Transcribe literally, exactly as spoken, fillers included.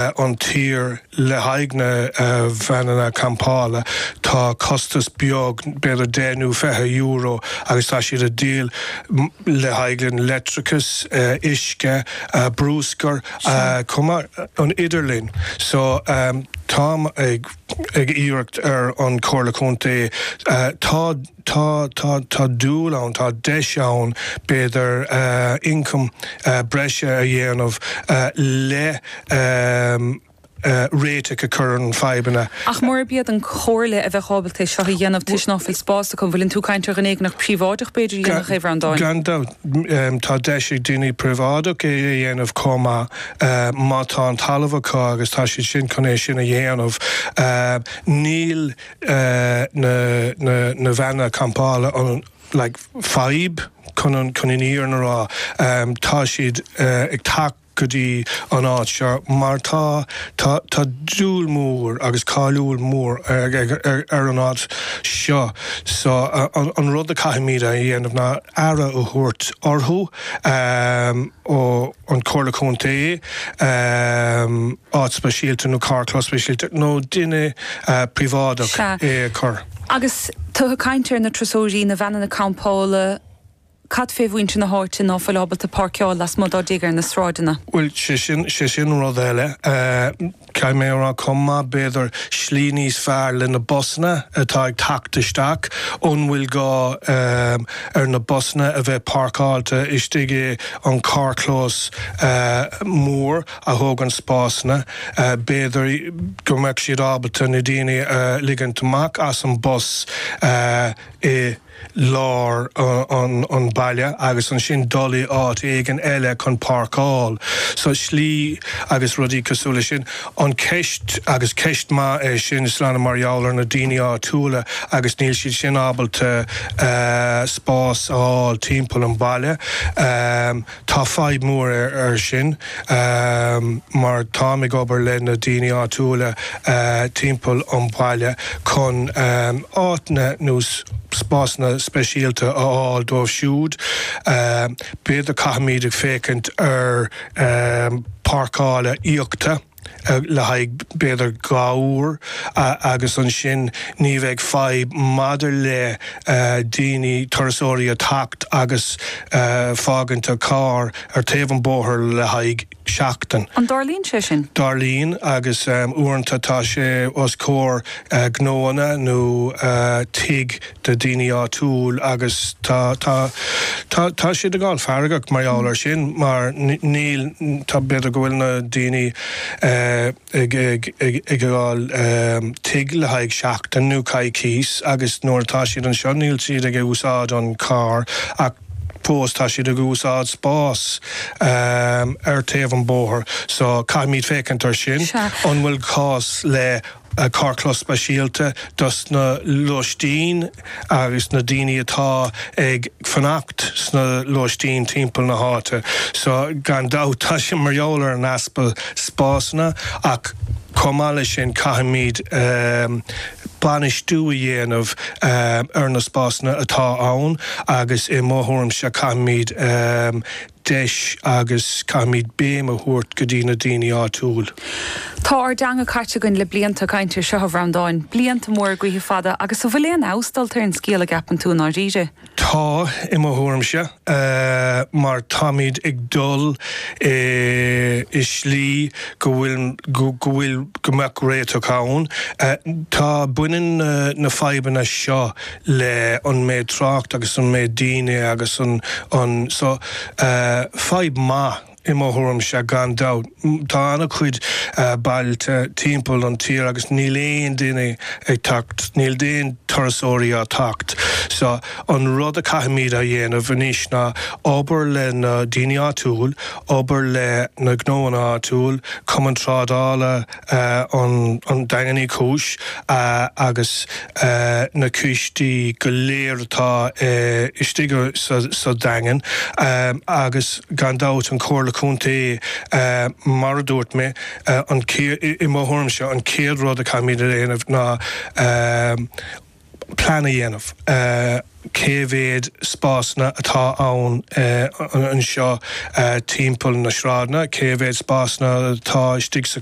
an tír le haghaidh na veaineanna campála tá costas beag b'fhéidir deich nó fiche euro agus tá siad ag díol le haghaidh an leictreachas, uisce, bruscar, chomh maith an idirlíon. So táim ag ag iarracht ar an Chomhairle Contae tá tá tá tá dúil ann, tá deis ann b'fhéidir ioncam breise a dhéanamh le réiteach a chur ar an fadhbanna. Ach murab iad an Chomhairle a bheadh ábalta é seo a dhéanamh toisc ná fuil spás acu, bhfuileann tú ag caint ar dhuine éigin príobháideach b'fhéidir a dhéanfadh é, a Bhreandáin? Gan dabht, tá deis ag daoine príobháideach é a dhéanamh chomh maith má tá an talamh acu agus tá siad sin chun é sin a dhéanamh. Níl na na veaineanna campála an like fadhb chun an chun an fhírinne a rá. Tá siad ag teacht go dtí an áit seo mar tá tá tá dúil mór agus cáiliúil mór ar ar ar an áit seo so an an rud a caithfimid a dhéanamh ná aire a thabhairt orthu ó an Chomhairle Contae, áit speisialta nó carrchlós speisialta nó duine príobháideach é a chur. Agus tú ag caint ar na turasóirí, na veaineanna campála, cad fé mhuintir na háite ná fuil ábalta páirceáil lasmuigh dá dtigh ar na sráideanna? Bhuel, sé sin, sé sin rud eile. Caithfidh mé a rá chomh maith, b'fhéidir slí níos fearr le na busanna atá ag teacht isteach, an bhfuil gá ar na busanna a bheith páirceáilte istigh i an carrchlós mór a thógann spásanna, b'fhéidir go mbeadh siad ábalta na daoine a ligint amach as an bus i lár an baile agus ansin dul i áit éigin eile chun páirceáil. So slí agus rudaí cosúil le sin. An ceist, agus ceist maith é sin, Sláine mar gheall ar na daoine áitiúla agus níl siad sin ábalta spás a fháil timpeall an baile. Tá fadhb mór ar sin mar táim ag obair le na daoine áitiúla timpeall an bhaile chun áiteanna nó spásanna speisialta a fháil dóibh siúd. B'fhéidir caithfimid ag féachaint ar páirceála íoctha le haghaidh b'fhéidir dhá uair agus ansin ní bheidh fadhb maidir le daoine, turasóirí a teacht agus fágaint a carr ar taobh an bóthair le haghaidh seachtain. An dtarlaíonn sé sin? Tarlaíonn agus uaireanta tá sé os comhair gnóanna nó tigh de daoine áitiúil agus tá tá tá tá siad ag fáil feargach mar gheall ar sin mar níl tá b'fhéidir go bhfuil na daoine ag ag ag ag fháil tigh le haghaidh seachtain nó coicís agus nuair atá siad anseo níl siad ag úsáid an carr ach fós tá siad ag úsáid spás ar taobh an bóthair so caithfimid féachaint ar sin. An bhfuil cás le carrchlós speisialta dos na lóistín agus na daoine atá ag fanacht sna lóistín timpeall na háite. So gan dabht tá sé mar gheall ar an easpa spásanna ach chomh maith leis sin caithfimid bainistiú a dhéanamh ar na spásanna atá ann agus i mo thuairimse caithfimid deis agus caithfimid béim a thabhairt go dtí na daoine áitiúil. Tá ár dteanga caite againn le blianta ag caint ar seo, a Bhreandáin, blianta móra gaoithe fada agus an bhfuil aon fheabhas dulta ar an scéal a gceapann tú i ndáiríre? Tá, i mo thuairimse, mar táimid ag dul i slí go bhfuil, go bhfuil, go mbeadh réiteach ann. Tá, baineann na fadhbanna seo le an méid trácht agus an méid daoine agus an, an, so, fadhb maith i mo thuairimse gan dabht. Tá an-chuid bailte timpeall an tír agus níl aon duine ag teacht, níl aon turasóirí á teacht. So an rud a caithfimid a dhéanamh anois ná obair le na daoine áitiúil, obair le na gnóanna áitiúil, Cumann Trádála an an Daingean Uí Chúis agus na coistí go léir atá istigh sa sa Daingean agus gan dabht an Chomhairle Contae mar a dúirt mé an i mo thuairimse an chéad rud a caithfimid a dhéanamh ná plean a dhéanamh. Uh, cé mhéad spásanna atá ann uh, anseo uh, timpeall na sráideanna, cé mhéad spásanna atá istigh sa